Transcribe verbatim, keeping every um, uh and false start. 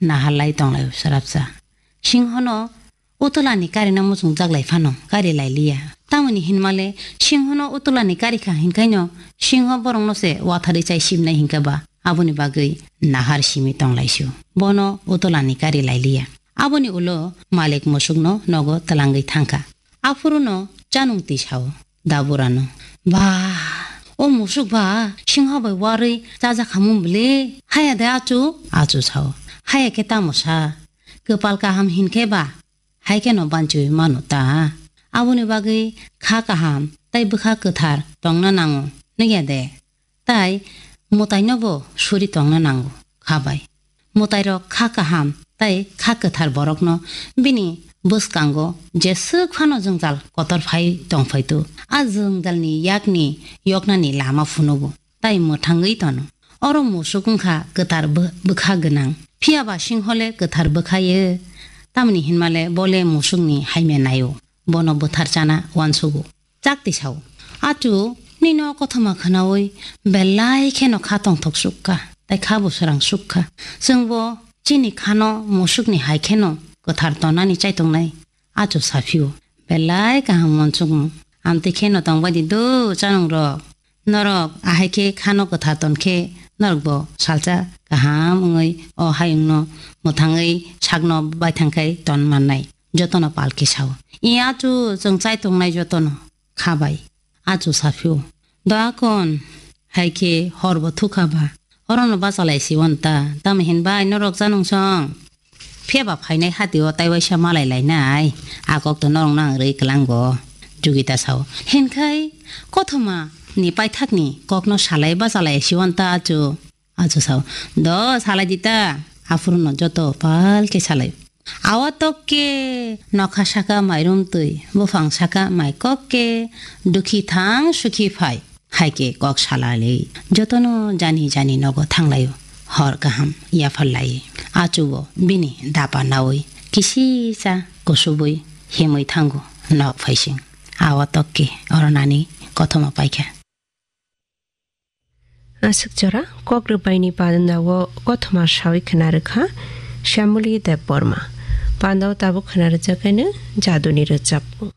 naharlai tonglaio swrapsa. Singhono utulani karina muchungjak lai phano kari lai liya. Tamoni hinmale singhono utulani kari kha hinkhaino singho borokno se watharwi chai simnai hinkhe ba aboni bagwi nahar simi tonglaisio. Bono utulani kari lai liya. Aboni ulo malik musukno nogo twlangwi thangkha. Aphuruno chanung twi sao daburano, "Ba, o musuk ba singho bai warwi chajak hamung bwle? Haya de achu?" Achu sao, "Haya khe tamo sa? Kwpal kaham hinkhe ba hai kheno banchiwi mano ta. Aboni bagwi kha kaham tei bwkha kwthar tongna nango, nukya de? Tai mwtainobo suri tongna nango kha bai. Mwtairok kha kaham tei kha kwthar borokno bini bwskango jeswk phano jwngjal kotor phai tongphaitu, a jwngjalni yakni yoknani lama phunugo tei mwthangwi tono. Oro musuk wngkha kwthar bw-, bwkha gwnang. Phiya ba singhole kwthar bwkha ye, tamni hinmale bole musukni haimya naio, bono bwthar chana uansugo." Chakti sao, "Achu, nini o kothoma khwnaui belai kheno kha tongthok sukha, tei kha bo swrang sukha. Chwngbo chini khano musukni hai kheno kwthar tonani chaitongnai." Achu saphio, "Belai kaham uansukmung. Amtwi kheno tongbai di do chanungrok. Norok ahai khe khano kwthar ton khe norokbo salsa kaham wngwi o hayungno mwthangwi sakno baithang khai ton mannai." Jotono palki sao, "I achu, chwng chai tongnai jotono kha bai." Achu saphio, "Do akon, hai khe horbo thukha ba, orono bachalai si wanta, tamo hin bai norok chanung song? Phiya ba phainai hati o tai waisa malai lainai, a kok to norok nang rwi klango." Jugita sao, "Hinkhai kothoma ni paithak ni kokno salai bachalai si wanta achu?" Achu sao, "Do salai di ta, aphuru no joto pal khe salai. Awa tok khe nokha saka mairum twi, buphang saka mai kok khe dukhi thang sukhi phai." Hai khe kok salai jotono jani jani nogo thanglaio. Hor kaham yaphar lai. Achu bo bini dapa naui kisi cha kusubui himui thango nok phaising. Awa tok khe oro nani kothoma paikha. Aswk jora kok rwbaini panda o kothoma sawi khna rwkha Shyamuli Debbarma. Panda o tabuk khna rwjakhaino jaduni rwchapmung.